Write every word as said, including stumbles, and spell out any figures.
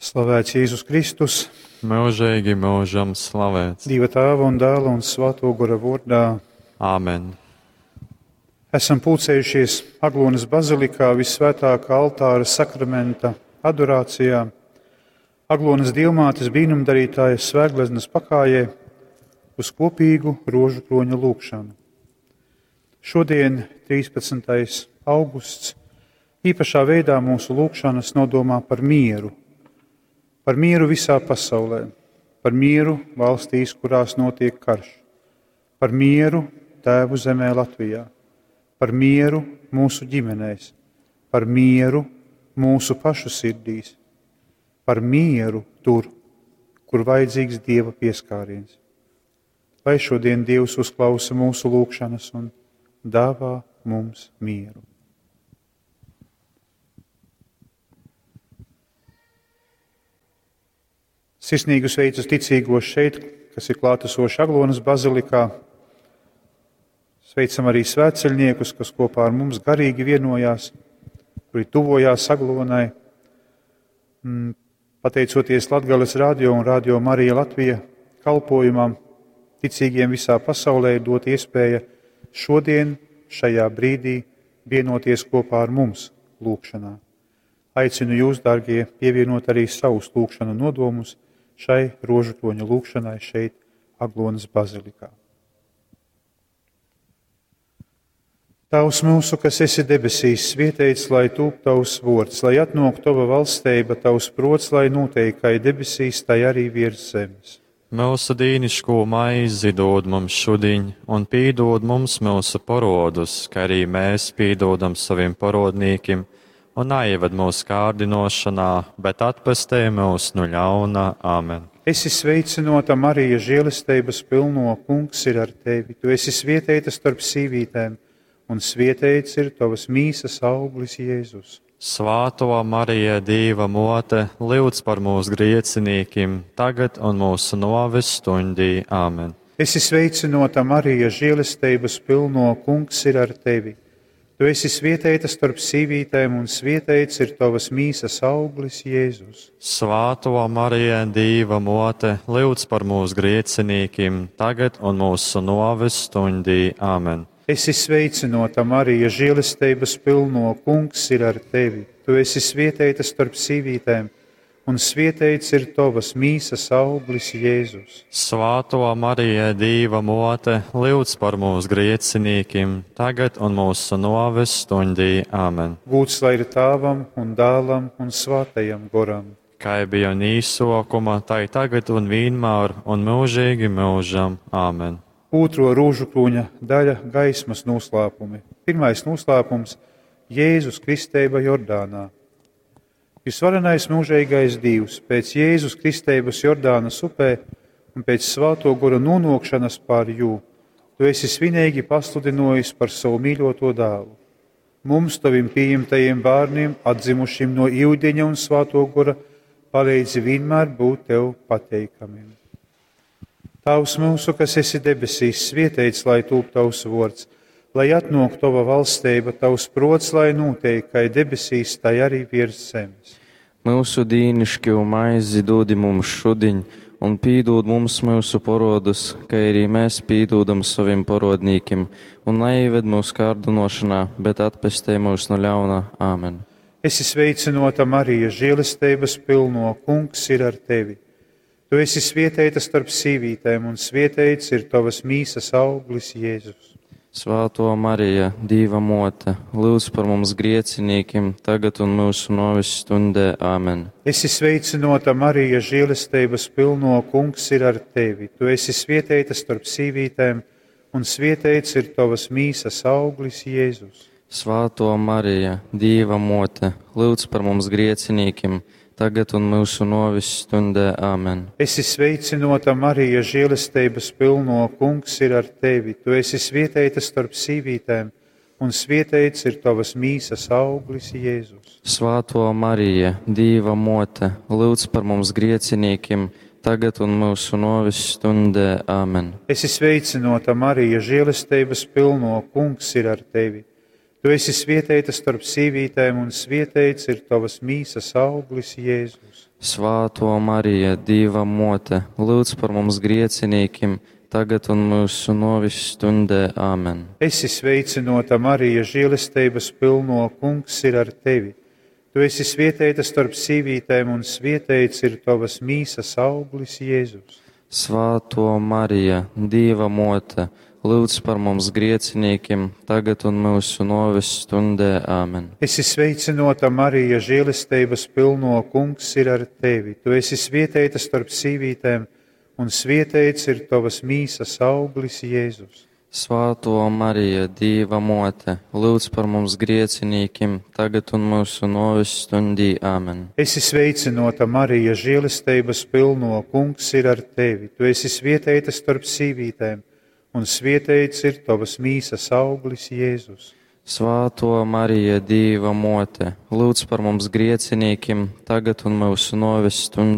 Slavēts Jēzus Kristus, Mūžīgi mūžam slavēts. Dieva Tēva un Dēla un Svēto Gora vārdā. Āmen. Esam pulcējušies Aglonas bazilikā visvētākā altāra sakramenta adorācijā, Aglonas dievmātes brīnumdarītājas svētgleznas pakājē uz kopīgu rožu kroņa lūgšanu. Šodien, trīspadsmitais augusts, īpašā veidā mūsu lūgšanas nodomā par mieru. Par mieru visā pasaulē, par mieru valstīs, kurās notiek karš, par mieru tēvu zemē Latvijā, par mieru mūsu ģimenēs, par mieru mūsu pašu sirdīs, par mieru tur, kur vajadzīgs Dieva pieskāriens. Lai šodien Dievs uzklausa mūsu lūgšanas un dāvā mums mieru. Sirsnīgu sveicu ticīgos šeit, kas ir klātesoši Aglonas bazilikā. Sveicam arī svētceļniekus, kas kopā ar mums garīgi vienojās, kuri tuvojās Aglonai. Mm, pateicoties Latgales radio un Radio Marija Latvija kalpojumam, ticīgiem visā pasaulē ir dot iespēja šodien, šajā brīdī, vienoties kopā ar mums lūgšanā. Aicinu jūs, dārgie, pievienot arī savus lūgšanu nodomus šai rožu kroņa lūgšanai šeit, Aglonas bazilikā. Tēvs mūsu, kas esi debesīs, svētīts lai tūp tavs vārds, lai atnāk tava valstība, tavs prots, lai notiek kā debesīs, tai arī virs zemes. Mūsu dīniško maizi dod mums šodien, un pīdod mums mūsu parodus, kā arī mēs pīdodam saviem parodnīkim, un neieved mūsu kārdinošanā, bet atpestī mūs no ļauna. Āmen. Esi sveicināta, Marija, žēlestības pilno, Kungs ir ar tevi. Tu esi svētīta starp sīvītēm, un svētīts ir tavas mīsas auglis, Jēzus. Svāto Marija, Dieva mote, lūdz par mūsu griecinīkim, tagad un mūsu noves stundī. Āmen. Esi sveicināta, Marija, žēlestības pilno, Kungs ir ar tevi. Tu esi svētīta starp sīvītēm, un svētīts ir tavas mīsas auglis, Jēzus. Svāto Marija, Dieva mote, lūdz par mūsu griecinīkim, tagad un mūsu noves stundī. Āmen. Esi sveicināta, Marija, žēlestības pilno, Kungs ir ar tevi. Tu esi svētīta starp sīvītēm, un svētīts ir tavas mīsas auglis, Jēzus. Svāto Marija, Dieva mote, lūdz par mūsu griecinīkim, tagad un mūsu noves stundī. Āmen. Gūts lai ir Tēvam un Dēlam un Svētajam Goram. Kā bija un īsokuma, tai tagad un vienmēr un mūžīgi mūžam. Āmen. Otro rožu kroņa daļa - gaismas noslēpumi. Pirmais noslēpums - Jēzus kristeiba Jordānā. Visvarenais mūžīgais Dievs, pēc Jēzus kristības Jordānas upē un pēc Svēto Gora nonākšanas pār jū, tu esi svinīgi pasludinojis par savu mīļoto dēlu. Mums, taviem pieņemtajiem bērniem, atzimušiem no ūdeņa un Svēto Gora, palīdzi vienmēr būt tev pateikamiem. Tēvs mūsu, kas esi debesīs, svētīts lai tūp tavs vārds, lai atnāk tava valstība, tavs prots, lai notiek, kā debesīs, tai arī virs zemes. Mūsu dīnišķo maizi dodi mums šodien, un pīdod mums mūsu parodus, kā arī mēs pīdodam saviem parodnīkim, un neieved mūsu kārdinošanā, bet atpestī mūs no ļauna. Āmen. Esi sveicināta, Marija, žēlestības pilno, Kungs ir ar tevi. Tu esi svētīta starp sīvītēm, un svētīts ir tavas mīsas auglis, Jēzus. Svēto Marija, Dieva mote, lūdz par mums griecinīkim, tagad un mūsu noves stundē. Āmen. Esi sveicināta, Marija, žēlestības pilno, Kungs ir ar tevi. Tu esi svētīta starp sīvītēm, un svētīts ir tavas mīsas auglis, Jēzus. Svēto Marija, Dieva mote, lūdz par mums griecinīkim, tagad un mūsu noves stundē. Āmen. Esi sveicināta, Marija, žēlestības pilno, Kungs ir ar tevi. Tu esi svētīta starp sīvītēm, un svētīts ir tavas mīsas auglis, Jēzus. Svēto Marija, Dieva mote, lūdz par mums griecinīkim, tagad un mūsu noves stundē. Āmen. Esi sveicināta, Marija, žēlestības pilno, Kungs ir ar tevi. Tu esi svietēta starp sīvītēm, un svietēts ir tavas mīsas auglis, Jēzus. Svātō Marija, Dīva Mōte, lūdz par mums griecinīkim, tagad un mūsu nōves stundē. Āmen. Esi sveicināta, Marija, žēlestības pilno, kungs ir ar tevi. Tu esi svietēta starp sīvītēm, un svietēts ir tavas mīsas auglis, Jēzus. Svātō Marija, Dīva Mōte, lūdz par mums griecinīkim, tagad un mūsu nōves stundē. Āmen. Esi sveicināta, Marija, žēlestības pilno, kungs ir ar tevi. Tu esi svietēta starp sīvītēm, un svietēts ir tavas mīsas auglis, Jēzus. Svātō Marija, Dīva Mōte, lūdz par mums griecinīkim, tagad un mūsu nōves stundī. Āmen. Esi sveicināta, Marija, žēlestības pilno, kungs ir ar tevi. Tu esi svietēta starp sīvītēm, un svietēts ir tavas mīsas auglis, Jēzus. Svātō Marija, Dīva Mōte, lūdz par mums griecinīkim, tagad un mūsu nōves stundī.